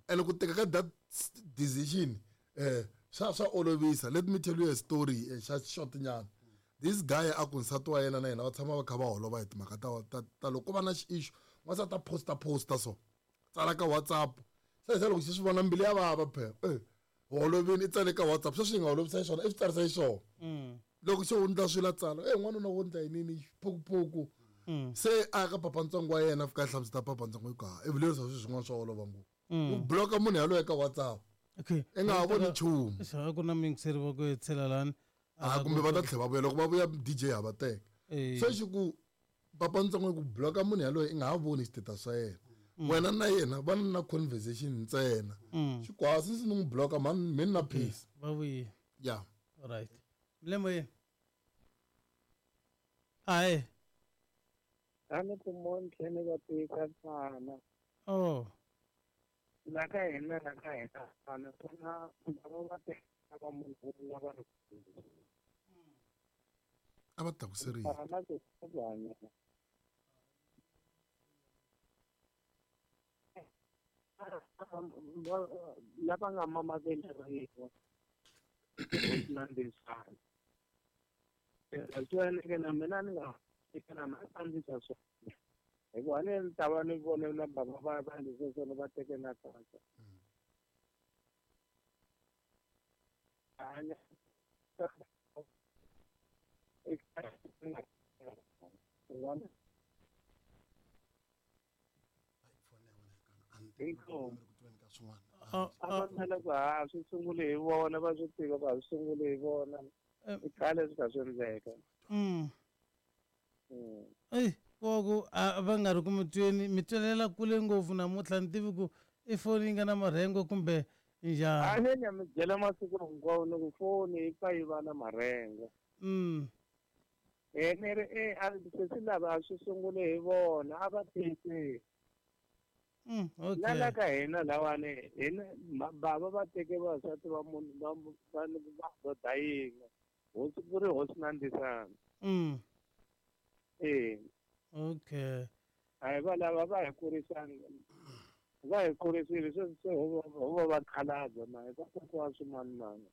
And ku teka ka that decision swa olovisa. Let me tell you a story, xa short nyana. This guy a ku nsati wa yena na yena va tshama va kha va holova hi timhaka ta loko ku va na issue, n'wansati a posta so. Tsala ka WhatsApp. Se se loko xi swi vona mbilu ya vava phela. Holovini i tsale ka WhatsApp. Sweswi yi nga holovisa xiswona, i swi tsarisa xiswona. Loko se u ndla swilo a tsala, n'wanuna wo ndla yini phukuphuku. Se a ya ka papantsongo wa yena a fika a hlamusela papantsongo hi ku, ha, i vulerisa swilo swin'wana swa olova ngopfu. U bloka munhu yaloye ka WhatsApp. Okay. I nga ha voni nchumu. Xa ku na miyingiseri va ku hetshela lani. A kumbe va ta tlhela va vuya, loko va vuya DJ ha va teka. Se xi ku papantsongo ku bloka munhu yaloye i nga ha voni xiteta swa yena. Wena na yena va na conversation ntsena. Xi ku, ha, since ni n'wi bloka, man, mi na peace. Va vuyi. Yeah. All right. Mlemo yini? Aye. A ni ku mo ni tlhela ni va tisa ntsana. Oh. La ka hina, la ka hina, vana ku na lava va teka va munhu un'we va ri kule. A va tlakuserile. Mara na ku hanya. Lava nga mama veleriwa. Na ndisana. Swi endleke na mina ni nga fika na mina a ndzi twa swona. Hikuva ni ni ta va ni vone na bava va ndzi swona va teke na kahle. Hanya. A va tala ku ha swi sungule hi vona, va swi tiva ku a swi sungule hi vona. I khale swi kha swi endleka. Ey, ko ku a va nga ri ku mi tweni, mi twelela kule ngopfu namuntlha, ni tivi ku i foni yi nga na marhengo kumbe njhani. A ni ya mi byela masiku hinkwawo ni ku foni yi pfa yi va na marhengo. Ni ri, a sesi lava a swi sungule hi vona, a va tiyisile. Okay. Na la ka hina lawani, hina bava va teke vavasati va munhu, va, va, va ndoda yin'we. Hosi ku ri hosi na ndisana. Okay. A hi va lava va hi kurisanga. Va hi kurisile, sweswi se ho va va khalabya na hi va kokwa swimanimani.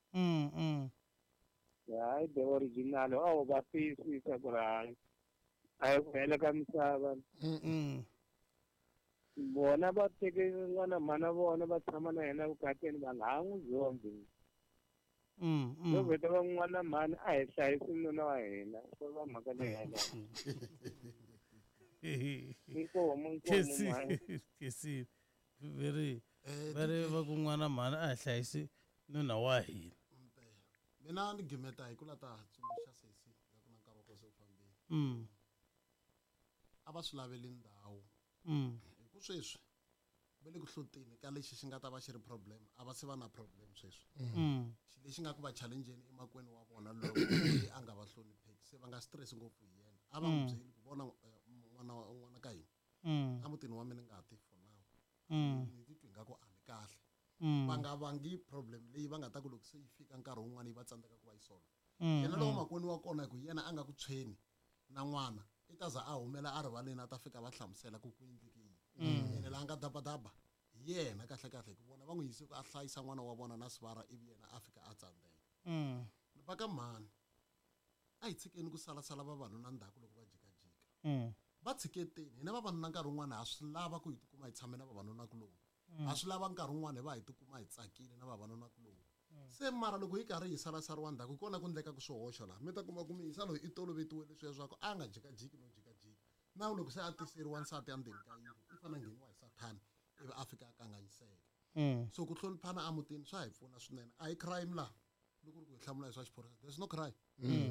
Hayi, the original, a wu va tiyisisa ku ri hayi. A hi ku hela ka misava. Vona va teke n'wana mhana vona va tshama na yena vukatini, va nga ha n'wi zondhi. Vo vheta va n'wana mhani a hi hlayisi nuna wa hina. Ko va mhaka leyi yaleyo. Inkomu, inkomu, Kesi, mhani. kesi. Veri, veri va ku n'wana mhani a hi hlayisi nuna wa hina. Mina ni gimeta hi ku la ta tsundzuxa sesi nga ku na nkarhi wa kona se wu fambile. A va swi laveli ndhawu. Hi ku sweswi va le ku hloteni ka lexi xi nga ta va xi ri problem, a va se va na problem sweswi. Xi lexi nga ku va challenge-eni emakwenu wa vona loko loyi a nga va hlonipheki, se va nga stress ngopfu hi yena. A va n'wi byeli ku vona n'wana wa, n'wana ka hina. A mutini wa mina ni nga ti for now. Ni titwi ingaku a ni kahle. Va nga vangi problem leyi va nga ta ku loko se yi fika nkarhi wun'wana yi va tsandzeka ku va yi solve. Yena lowa makwenu wa kona hi ku yena a nga ku tshweni na n'wana, i ta za a humela a rivaleni a ta fika va hlamusela ku ku endleke yini. Ene laha nga dabadaba hi yena kahle kahle, hi ku vona va n'wi yise ku a hlayisa n'wana wa vona na sivara, ivi yena a fika a tsandzeka. Va ka mhani, a hi tshikeni ku salasala vavanuna ndzhaku loko va jikajika. Va tshiketeni, hina vavanuna nkarhi wun'wana ha swi lava ku hi tikuma hi tshame na vavanuna kuloni. Ha swi lava nkarhi wun'wana hi va hi tikuma hi tsakile na vavanuna kuloni. Se mara loko hi karhi hi salasariwa ndzhaku, hi kona ku endleka ku swihoxo laha. Mi ta kuma ku muyisa loyi i tolovetiwe leswiya swa ku a nga jikajiki no jikajika. Na loko se a tiseriwa nsati endzeni ka yindlu, i fanele a ngheniwa hi sathana ivi a fika a kanganyiseka. So ku hloniphana emutini swa hi pfuna swinene. A hi crime laha. Loko ku ri ku hi hlamula hi swa xiphorisa, there's no crime.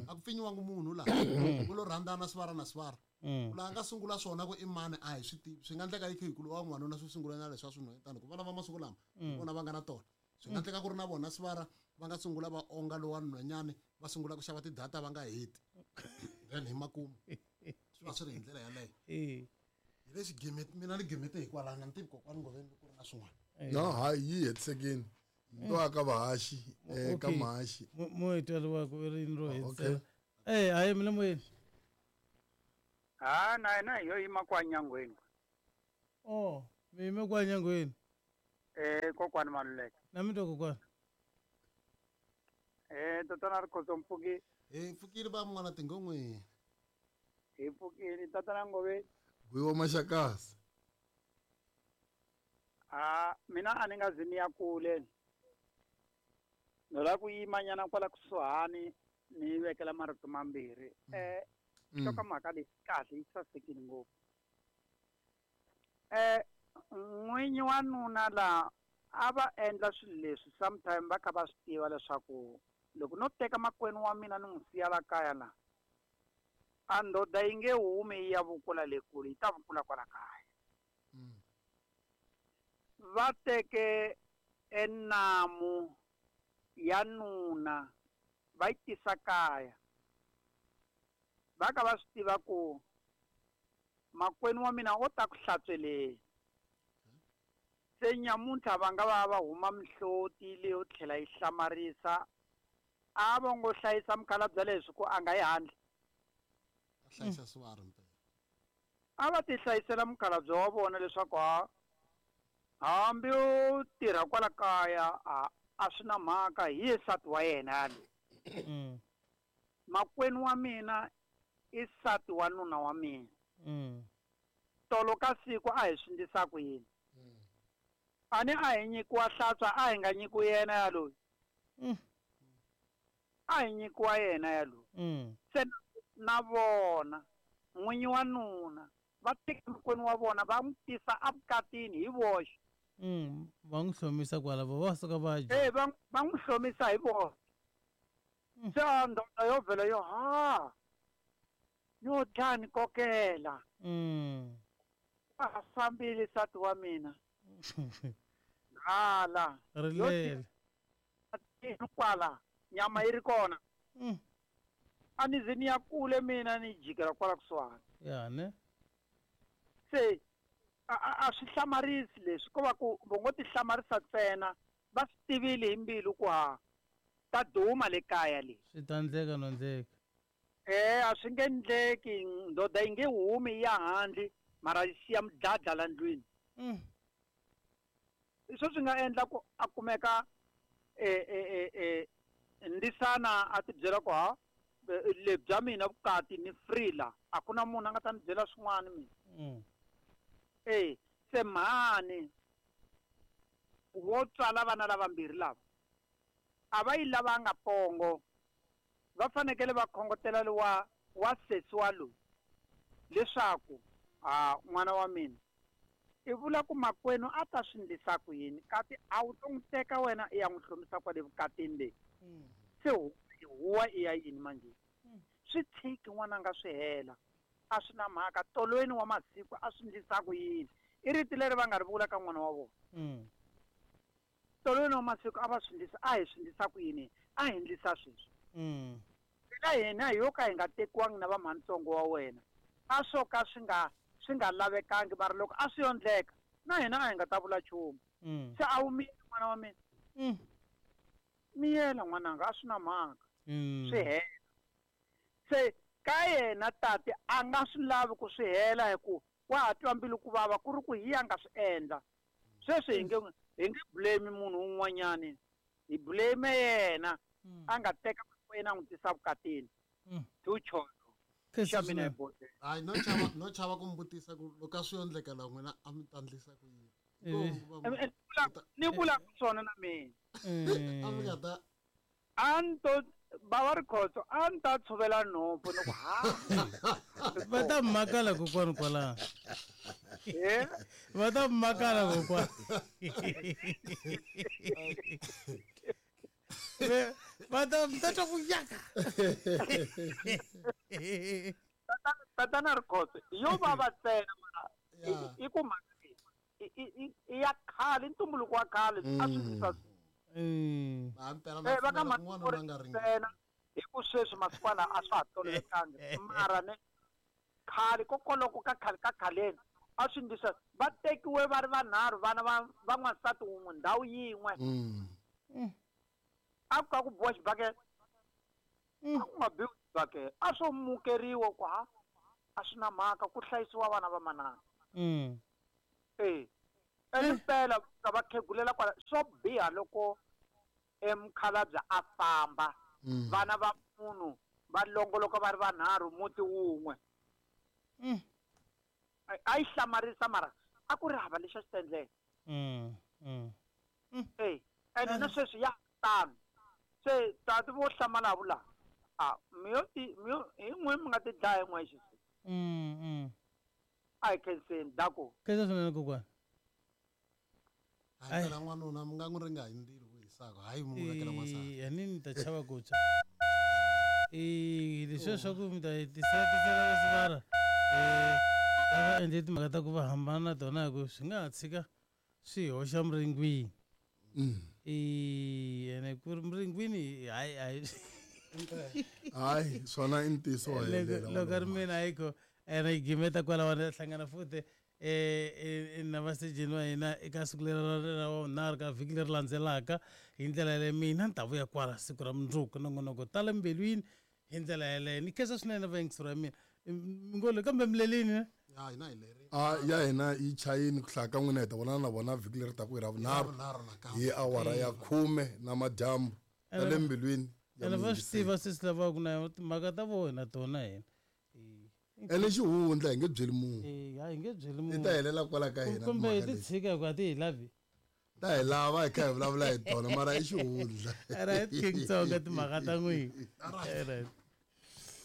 A ku pfinyiwangi munhu laha. Ku lo rhandzana sivara na sivara. Laha nga sungula swona ku i mani a hi swi tivi. Swi nga endleka yi kha hi ku lowa n'wanuna swi sungula na leswi a swi nhwetana, ku vana va masiku lama hi vona va nga na tona. Swi nga endleka ku ri na vona sivara va nga sungula va onga lowa nhwanyani, va sungula ku xava ti-data va nga heti. Then hi makumu swi va swi ri hi ndlela yaleyo. Hi lexi gimete, mina ni gimete hikwalaho, ni tivi kokwani Ngoveni ku ri na swin'wana. No, hayi, yi hetisekile. Ni twa ka vahaxi, ka mahaxi. Mo hi tweriwa ku ri yini ro hetisela. Hayi, mina moyeni. Ha, na yena hi yo yima kwa nyangweni. Oh, mi yime kwa nyangweni. Kokwani Maluleke. Na mi twa kokwani. Tatana Rikhotso mpfuki. Hi pfukile va n'wana tingon'we. Hi pfukile tatana Ngove. Gwiwa Maxakasi. Mina a ni nga zi ni ya kule. No la ku yima nyana kwala kusuhani ni vekela marito mambirhi. Hloka mhaka leyi kahle yi sasekile ngopfu. N'winyi wa nuna la a va endla swilo leswi sometime va kha va swi tiva leswaku loko no teka makwenu wa mina ni n'wi siya la kaya la a ndoda yi nge humi yi ya vukula le kule yi ta vukula kwala kaya. Va teke enamu ya nuna va yi tisa kaya va ka va swi tiva ku makwenu wa mina o ta ku hlantsweleni. Se nyamuntlha va nga va va huma mihloti leyo tlhela yi hlamarisa a va ngo hlayisa mukhalabye leswi ku a nga yi handle. A hlayisa swiharhi mpela. A va ti hlayisela mukhalabye wa vona leswaku hambi u tirha kwala kaya a swi na mhaka hi ye nsati wa yena yaloyi. Makwenu wa mina i nsati wa nuna wa mina. Tolo ka siku a hi swi endlisa ku yini? A ni a hi nyikiwa hlantswa a hi nga nyikiwi yena yaloyi. A hi nyikiwa yena yaloyi. Se na vona n'winyi wa nuna va teka makwenu wa vona va n'wi tisa evukatini hi voxe. Va n'wi hlomisa kwala va suka va dya. Va n'wi hlomisa hi voxe. Se ndoda yo vhela yo ha yo dlaya ni kokela. A fambile nsati wa mina. Hala. Rilele. Kwala nyama yi ri kona. A ni ze ni ya kule mina ni jikela kwala kusuhani. Ya ne. Se a swi hlamarisi leswi ko va ku vo ngo ti hlamarisa ntsena va swi tivile hi mbilu ku ha ta duma le kaya le. Swi ta ndleka no ndleka. A swi nge ndleki ndoda yi nge humi ya handle mara yi siya mudladla la ndlwini. Leswi swi nga endla ku a kumeka ndisana a ti byela ku ha le bya mina vukati ni free la a ku na munhu a nga ta ni byela swin'wana mina. Se mhani vo tswala vana lavambirhi lava a va yi lavanga pongo va fanekele va khongotela wa wa sesi wa loyi leswaku n'wana wa mina i vula ku makwenu a ta swi endlisa ku yini kati a wu to n'wi teka wena i ya n'wi hlomisa kwale vukatini leyi. Se huwa i ya yini manje? Swi tshiki n'wananga swi hela a swi na mhaka tolweni wa masiku a swi endlisa ku yini i rito leri va nga ri vula ka n'wana wa vona. Tolweni wa masiku a va swi endlisa a hi swi endlisa ku yini a hi endlisa sweswi. Eka hina hi yo ka hi nga tekiwangi na vamhanitsongo wa wena a swo ka swi nga lavekangi mara loko a swi yondleka na hina a hi nga ta vula nchumu. Se a wu miyeli n'wana wa mina. Miyela n'wananga a swi na mhaka. Swi hela. Se ka yena tati a nga swi lavi ku swi hela hi ku wa ha twa mbilu ku vava ku ri ku hi ya nga swi endla. Sweswi hi nge blame munhu un'wanyani hi blame yena a nga teka makwenu a n'wi tisa vukatini. Tucholo. Hayi no chava ku mbutisa ku loko a swi yondleka la n'wina a mi ta ndlisa ku yini. Ni vula swona na mina. A mi nga ta a ni to bava Rikhotso a ni ta tshovela nhompfu ni ku ha. Va ta makala kokwani kwala. Va ta makala kokwani. Va ta twa ku yaka. Tatana Rikhotso yo vava ntsena mara i ku mhaka i ya khale ntumbuluko wa khale a swi ndlisa. Va ka ntsena hi ku sweswi masikwana a swa ha tolovekangi mara ne khale kokoloko ka khale ka khaleni a swi ndlisa va tekiwe va ri vanharhu vana va n'wansati wun'we ndhawu yin'we. A ku ka ku biwa xibakele a ku nga biwi xibakele a swo mukeriwa ku ha a swi na mhaka ku hlayisiwa vana va manana. Ene mpela ka va khegulela kwala swo biha loko emukhalabye a famba. Vana va munhu va longoloka va ri vanharhu muti wun'we. A yi hlamarisa mara a ku ri hava lexi a xi ta endleka. Ene na sweswi ya tano. Se tati vo hlamala vula a mi yo ti mi yo hi n'we mi nga ti dlaya hi n'wexe. A hi khenseni dako. Khensa swinene kokwana. Hayi phela n'wanuna mi nga n'wi ringa hi ndzilo wu hisaka hayi mi n'wi vekela n'wansati. A ni ta chava ku tshwa. Leswiya swa ku mi ta yi tisela tisela sivara a va endle timhaka ta ku va hambana na tona hi ku swi nga ha tshika swi hoxa miringwini. Ene ku ri miringwini hayi hayi. Hayi swona i ntiyiso wa helela. Loko ri mina ayikho ene yi gimeta kwalaho hlangana futhi na vasejeni wa hina eka siku leri ra vunharhu ka vhiki leri landzelaka hi ndlela yaleyo mina ni ta vuya kwala siku ra mundzuku nongonoko tala mbilwini hi ndlela yaleyo ni khensa swinene vayingiseri wa mina ngolo kambe milelini ne ya hina hi leri a ya hina yi chayini ku hlaya ka n'wina hi ta vonana na vona vhiki leri taku hi ra vunharhu hi awara ya 10 na madyambu ta le mbilwini ene va swi tiva sesi lavaku na timhaka ta vona tona hina Ene xihundla hi nge byeli munhu. Eh, ha hi nge byeli munhu. Ti ta helela kwala ka hina. Kumbe hi ti tshika hikuva a ti hi lavi. Ta hi lava hi kha hi vulavula hi tona mara i xihundla. Right King Tsonga timhaka ta n'wina. Right.